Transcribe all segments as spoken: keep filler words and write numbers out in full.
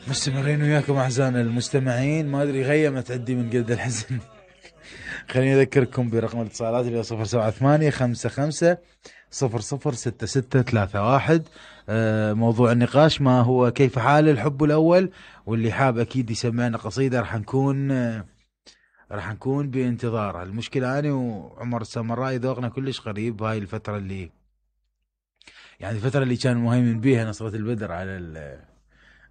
مستمرين وياكم أعزائنا المستمعين. ما أدري غيمت عندي من قد الحزن. خليني أذكركم برقم الاتصالات اللي هو صفر سبعة ثمانية خمسة خمسة صفر صفر ستة ستة ثلاثة واحد. آه موضوع النقاش ما هو كيف حال الحب الأول، واللي حاب أكيد يسمعنا قصيدة راح نكون آه راح نكون بانتظار. المشكلة أنا وعمر السامرائي ذوقنا كلش قريب هاي الفترة، اللي يعني الفترة اللي كان مهيمن بيها نصرة البدر على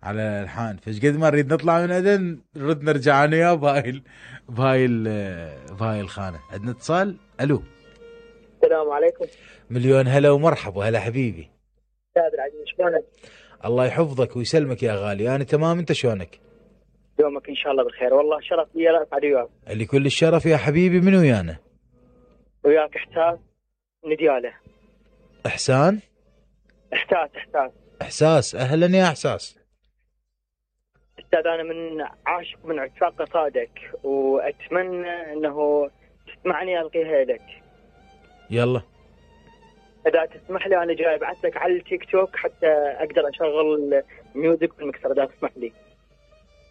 على الحان، فايش قد ما نريد نطلع من عدن نرد نرجع انا وياه بهاي بهاي بهاي الخانه. عندنا اتصال. الو السلام عليكم. مليون هلا ومرحبا. هلا حبيبي استاذ العزيز، شلونك؟ الله يحفظك ويسلمك يا غالي. انا تمام، انت شلونك؟ يومك ان شاء الله بالخير. والله شرف لي اسعد وياك. اللي كل الشرف يا حبيبي. من ويانا؟ وياك احساس ندياله. احسان احساس احساس احساس. اهلا يا احساس. استاذ انا من عاشق من عشاق قصائدك، واتمنى انه تسمعني القيها لك. يلا اذا تسمح لي انا جاي ابعث لك على التيك توك حتى اقدر اشغل ميوزك في المكسر، اذا تسمح لي.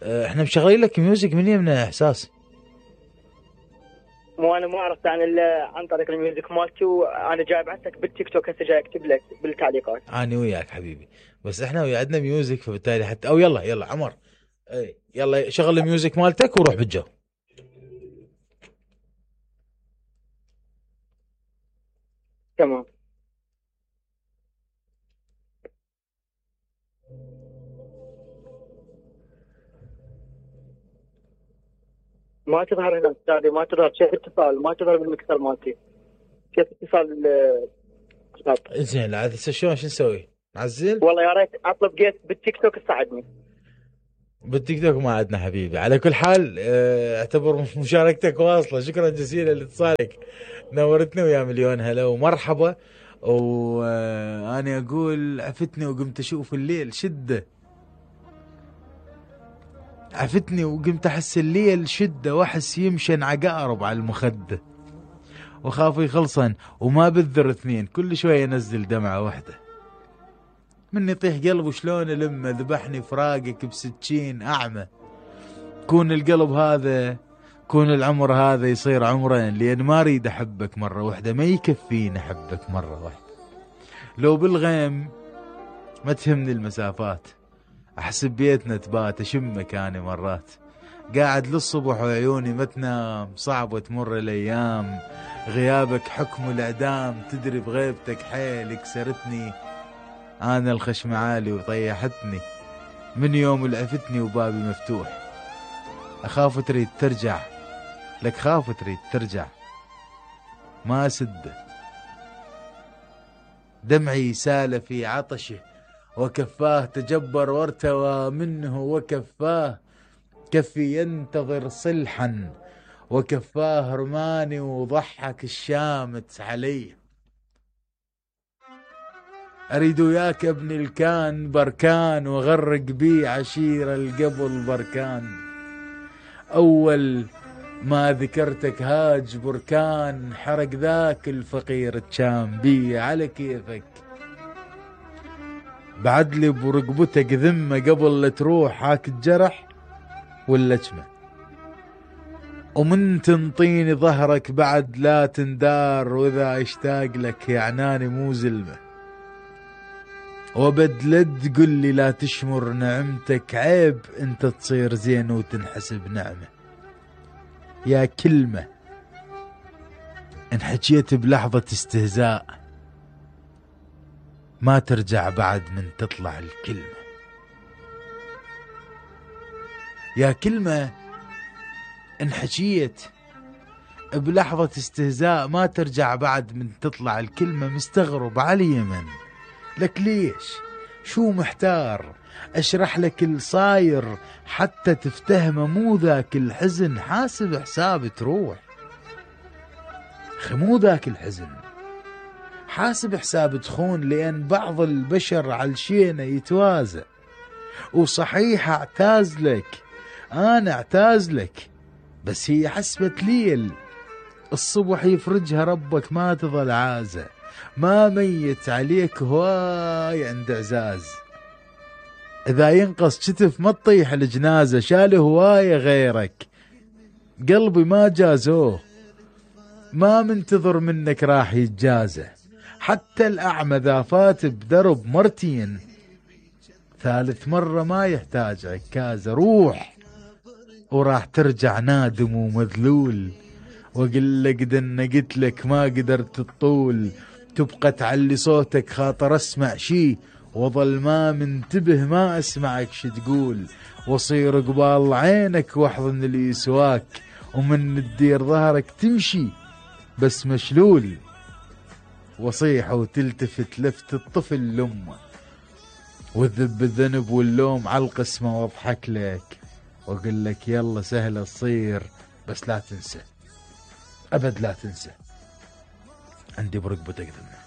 اه احنا مشغلين لك ميوزك من يمنا يا احساس. مو انا مو عرفت عن الا عن طريق الميوزك مالتي، وانا جاي ابعث لك بالتيك توك هسه، جاي اكتب لك بالتعليقات. انا وياك حبيبي، بس احنا ويا عندنا ميوزك، فبالتالي حتى او يلا يلا عمر اي يلا شغل الميوزك مالتك وروح بالجو. تمام. ما تظهر هنا استاذي، ما تظهر شيء اتصال، ما تظهر بالمكسر مالتي شيء اتصال. آه، زين عاد هسه شلون شو نسوي؟ نعزل؟ والله يا ريت اطلب جيت بالتيك توك تساعدني. بالتيك توك ما عندنا حبيبي. على كل حال اه اعتبر مشاركتك واصله. شكرا جزيلا لاتصالك، نورتنا ويا مليون هلا ومرحبا. وانا اقول عفتني وقمت اشوف الليل شده، عفتني وقمت احس الليل شده، واحس يمشن عقارب على المخده، وخاف يخلصن وما بذر اثنين، كل شويه ينزل دمعه واحده. من يطيح قلبه شلون لما ذبحني فراقك بسكين اعمى. كون القلب هذا، كون العمر هذا يصير عمرين، لان ما اريد احبك مره واحده، ما يكفيني احبك مره واحده. لو بالغيم ما تهمني المسافات، احسب بيتنا تبات اشمك انا مرات. قاعد للصبح وعيوني ما تنام، صعبة تمر الايام، غيابك حكم الاعدام، تدري بغيبتك حيل كسرتني انا الخشم عالي وطيحتني. من يوم لعفتني وبابي مفتوح، اخاف تريد ترجع، لك خاف تريد ترجع ما سده. دمعي سال في عطشه وكفاه، تجبر وارتوى منه وكفاه. كفي ينتظر صلحا وكفاه رماني، وضحك الشامت علي. اريد وياك ابني الكان بركان، وغرق بي عشير القبل بركان. اول ما ذكرتك هاج بركان، حرق ذاك الفقير تشام بي على كيفك. بعدلي برقبتك ذمة قبل لا تروح، هاك الجرح واللجمة. ومن تنطيني ظهرك بعد لا تندار، واذا اشتاق لك يعناني مو زلمة. وبدلد قل لي لا تشمر نعمتك، عيب انت تصير زين وتنحسب نعمة. يا كلمة ان حكيت بلحظة استهزاء، ما ترجع بعد من تطلع الكلمة. يا كلمة ان حكيت بلحظة استهزاء، ما ترجع بعد من تطلع الكلمة. مستغرب على اليمن لك ليش؟ شو محتار؟ اشرح لك الصاير حتى تفتهمه، مو ذاك الحزن حاسب حساب تروح. مو ذاك الحزن حاسب حساب تخون، لأن بعض البشر علشينا يتوازى. وصحيح اعتاز لك، أنا اعتاز لك، بس هي حسبة ليل، الصبح يفرجها ربك ما تظل عازة. ما ميت عليك هواي عند عزاز، إذا ينقص كتف ما تطيح الجنازة، شال هواية غيرك قلبي ما جازوه، ما منتظر منك راح يتجازى. حتى الأعمى ذا فات بدرب مرتين، ثالث مرة ما يحتاج عكازة. روح وراح ترجع نادم ومذلول، وقل لك دنا قلت لك ما قدرت تطول، تبقى تعلي صوتك خاطر اسمع شي، وظل ما منتبه ما اسمعك شي تقول، وصير قبال عينك واحضن اللي يسواك، ومن تدير ظهرك تمشي بس مشلول، وصيح وتلتفت لفت الطفل لامه، وذب الذنب واللوم على القسمة، واضحك لك واقول لك يلا سهلة تصير، بس لا تنسى ابد لا تنسى عندي برقبتك ذنب.